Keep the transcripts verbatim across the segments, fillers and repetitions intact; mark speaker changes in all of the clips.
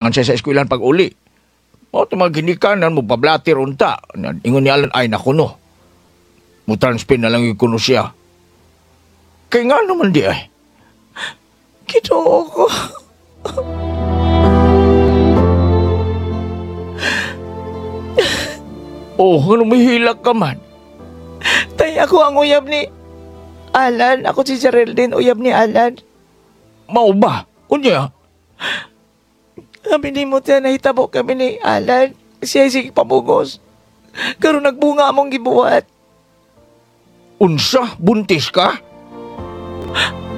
Speaker 1: Siya sa eskwelahan pag uli. O, ito mga ginikanan mo, pablatir unta. Ingon ni Alan, ay naku no. Mo transfer na lang yung kuno siya. Kay nga naman di ay.
Speaker 2: Ginoo ko.
Speaker 1: Oh, ano may hilak ka man?
Speaker 2: Tay, ako ang uyab ni Alan. Ako si Geraldine, uyab ni Alan.
Speaker 1: Mao ba? Unya,
Speaker 2: Kami ni mo tiyan, nahitabo kami ni Alan. Siya sige pamugos. Karon nagbunga among gibuhat.
Speaker 1: Unsa, buntis ka?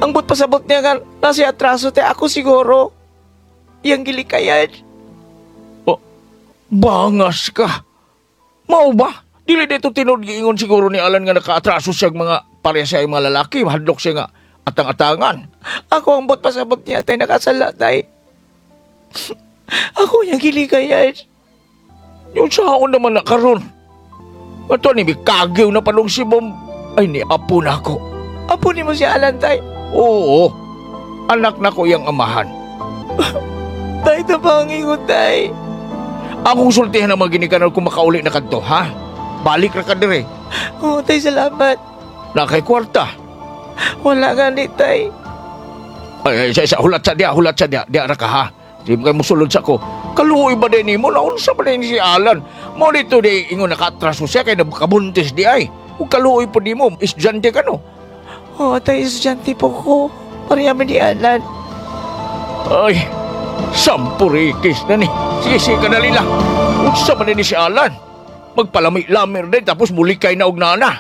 Speaker 2: Ang but pasabot niya nga, nasa atraso te ako siguro. Yang gilikayan.
Speaker 1: Oh, bangas ka. Mao ba? Dili dito tinud giingon siguro ni Alan nga nakaatraso siya mga pareha siya mga lalaki. Hadlok siya nga atang-atangan.
Speaker 2: Ako ang but pasabot niya, tay nakasala, tay. Ako yung gilikayan.
Speaker 1: Yung sa ako naman na karon. Ato ni kagyaw na palong si Bom. Ay ni apo na ako.
Speaker 2: Apo ni mo si Alan, tay.
Speaker 1: Oo. Anak na ko iyang amahan.
Speaker 2: Tay, tabangi ko, tay.
Speaker 1: Akong sultihan ang mga ginikanan kung makauli na kadto, ha? Balik ra ka dire.
Speaker 2: Oo, tay, salamat.
Speaker 1: Na kay kwarta.
Speaker 2: Wala nga ni, tay.
Speaker 1: Ay, ay, sa, sa, hulat sa diya, hulat sa diya. Diya ra ka, ha? Di mo kayo musulod sa ko. Kaluoy ba din nimo? Naunsa ba din si Alan? Mo dito di ingon nakaatraso siya kay nabakabuntis di ay. Ug kaluoy po di mo, estudyante ka no.
Speaker 2: Oo, tay, estudyante po ko. Pareha ni Alan.
Speaker 1: Ay, sampurikis na ni. Sige, sige, kadali lang. Unsa ba din ni si Alan? Magpalamay-lamir din tapos muli kay na og nana.